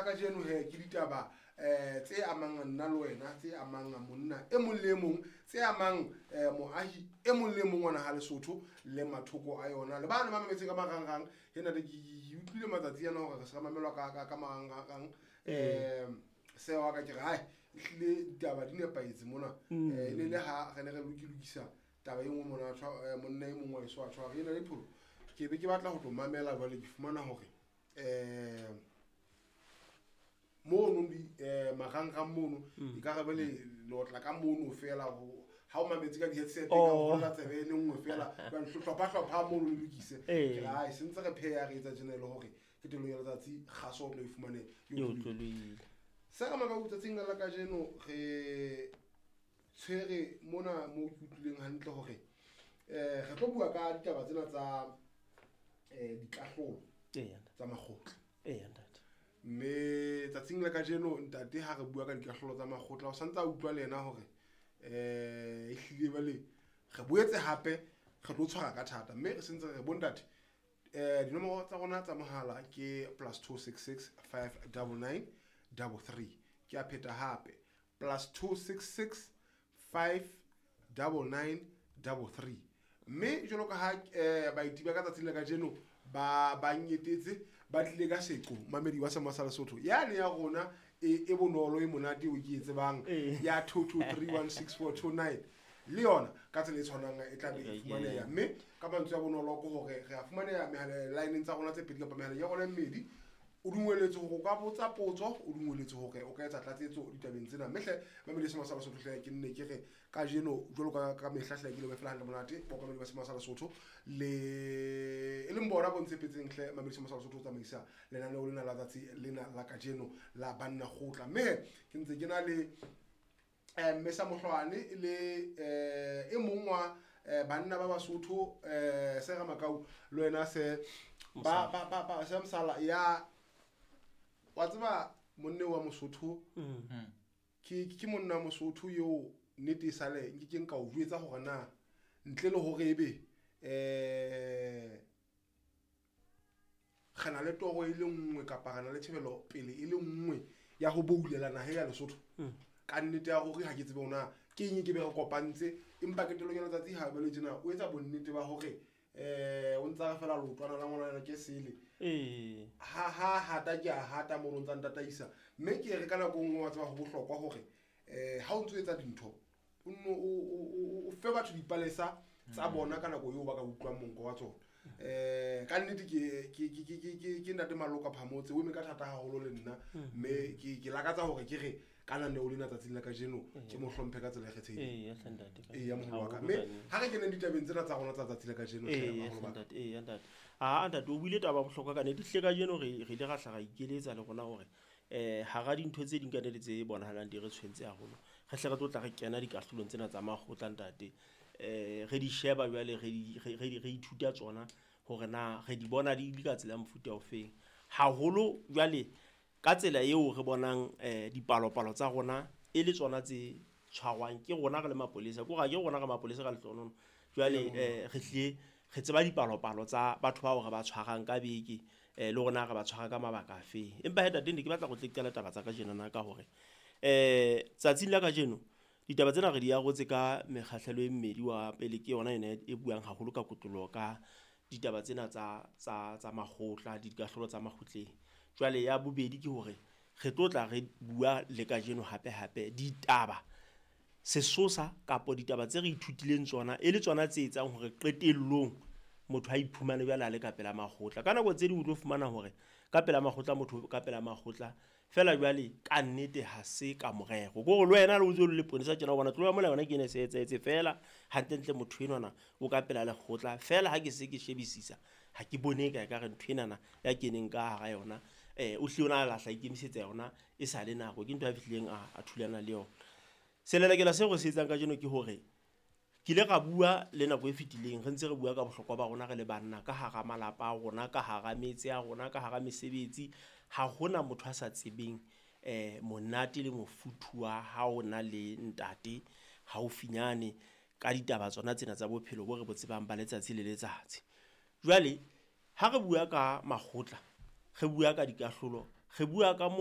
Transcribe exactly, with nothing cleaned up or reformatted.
kajeno he ke ditaba um tse amang nna le wena, tse amang monna e mong le e mong, tse amang um moahi e mong le e mong wa naha Lesotho le mathoko a yona. Le bana ba mametseng ka marangrang, he ntate ke ke utlwile matsatsi ana hore re se re mamelwa ka ka ka marangrang. Um se wa ka ke re hai ehlile ditaba di nepahetse mona. Mm. Eh, e ne le ha re ne re lokilokisa taba e nngwe mona, tshwa- eh, monna e mong wa heso a tshwara ena le pholo. Ke be ke batla ho tlo mamela jwale, ke fumana hore um mono di eh marangrang mono Mm. e ka re bele le otla ka mono fela ho ha o mametse ka di-headset ka Oh. ho tsebe e le nngwe fela jwale hlopha hlopha mono le lokise. Eh. Ke re hai se ntse re pheha re etsa tjena e le hore qetellong ya letsatsi kgaso o tlo e fumane e E otlolohile. otlolohile. Se re maka tsatsing la kajeno re tshwere mona mo ke utlwileng hantle hore eh re tlo bua ka ditaba tsena tsa eh dikahlolo Eya ntate. tsa makgotla. Eya ntate. Mme tsatsing la kajeno ntate ha re bua ka dikahlolo tsa makgotla o santse a utlwa le yena hore eh ehlile jwale re boetse hape re tlo tshwara ka thata, mme re sentse re bo ntate eh dinomoro tsa rona tsa mohala ke plus two six six five double nine double three. Ke a pheta hape, plus two six six five double nine double three. Mme jwalo ka ha eh baeti ba ka tsatsing la kajeno ba ba nyetetse ba tlile ka seqo mamedi wa Semoya sa Lesotho yane ya rona e e bonolo e monate o ke e tsebang Ee. ya two two three one six four two nine le yona ka tsela e tshwanang e tla be e Ee, fumaneha. Mme ka mantswe a bonolo ke hore re a fumaneha mehala line-eng tsa rona tse pedi kapa mehaleng ya rona e mmedi. O dungweletswe hore o ka botsa potso, o dungweletswe hore o ka etsa tlatsetso ditabeng tsena. Mme hle mamedi wa Semoya sa Lesotho hle ke nne ke re kajeno jwalo ka ka mehla hle ke lebohe fela hantle monate baokamedi ba Semoya sa Lesotho le e leng bona bo ntshepetseng hle mamedi wa Semoya sa Lesotho ho tsamaisa lenaneo lena la tsatsi lena la kajeno la Banna Kgotla. Mme he ke ntse ke na le eh mme sa Mohlwane le eh e mong wa eh banna ba Basotho eh se Ramakau le wena se ba ba ba ba se Mosala ya wa tseba monne wa Mosotho. Mm. Ke ke monna wa Mosotho eo nnete e sale nke ke nka o jwetsa hore na ntle le hore ebe eh re na le toro e le nngwe kapa re na le tjhebelo pele e le nngwe ya ho boulela naha ya Lesotho. Mm. Ka nnete ya hore ha ke tsebe hore na ke eng e ke be re kopantse, empa qetellong ya letsatsi ha ba le tjena o etsa bonnete ba hore eh o ntsa re fela leotwana la ngwana ke sele. Ee. Ha ha hata ke a hata mono ntsa ntataisa. Mme ke re ka nako e nngwe wa tseba ho bohlokwa hore eh ha o ntso etsa dintho o nno o o o fe batho dipalesa tsa bona ka nako eo ba ka utlwang monko wa tsona. Eh ka nnete ke ke ke ke ke ke ntate Maloka Phamotse o eme ka thata haholo le nna, mme ke ke lakatsa hore ke re ka lenaneo lena tsatsing la kajeno ke mo hlomphe ka tsela e kgethehileng. Eya hle ntate. Eya moholo wa ka. Haholo Mme ka nnete. ha re keneng ditabeng tsena tsa rona tsa tsatsi la kajeno hle Eya baholo hle ba ka. ntate, eya ntate. Ah ntate o buile taba ya bohlokwa ka nnete. Ehlile kajeno re re ile ra hla ra ikeletsa le rona hore eh hara dintho tse ding ka nnete tse bonahalang di re tshwentse haholo. Re hle re tlo tla re kena dikahlolong tsena tsa makgotla ntate. Eh re di sheba jwale re di re re re ithuta tsona hore na re di bona di le ka tsela ya mofuta ofeng. Haholo jwale ka tsela eo re bonang eh dipalopalo tsa rona e le tsona tse tshwarwang ke rona re le mapolesa. Ke hore ha ke rona re mapolesa ka lehlohonolo. Jwale eh re hlile re tseba dipalopalo tsa batho bao re ba tshwarang ka beke eh le rona re ba tshwara ka mabaka afe. Empa he ntate ne ke batla go tle qala taba tsa kajeno na ka hore eh tsatsing la kajeno ditaba tsena re di arotse ka mekgahlelo e mmedi. Wa pele ke yona ena e buang haholo ka kotloloho ka ditaba tsena tsa tsa tsa makgotla, dikahlolo tsa makgotleng. Jwale ya bobedi ke hore re tlo tla re bua le kajeno hape hape ditaba sesosa kapa ditaba tse re ithutileng tsona e le tsona tse etsang hore qetellong motho a iphumane jwale a le ka pela makgotla. Ka nako tse ding o tlo fumana hore ka pela makgotla motho ka pela makgotla fela jwale ka nnete ha se ka morero. Ke hore le wena le o ntse o le leponesa tjena o bona tloha mola yona ke ene e se etsahetse fela hantlentle motho enwana o ka pela lekgotla fela ha ke se ke shebisisa ha ke bone ka ekare ntho enana ya keneng ka hara yona eh o hlile o na lahla ikemisetsa yona e sa le nako ke ntho a fihlileng a a thulana le yona. Selelekela seo re se etsang kajeno ke hore ke ile ra bua le nako e fetileng re ntse re bua ka bohlokwa ba rona re le banna ka hara malapa a rona, ka hara metse ya rona, ka hara mesebetsi. Ha hona motho a sa tsebeng eh monate le mofuthu wa ha o na le ntate haufinyane ka ditaba tsona tsena tsa bophelo bo re bo tsebang ba letsatsi le letsatsi. Jwale ha re bua ka makgotla, re bua ka dikahlolo, re bua ka moo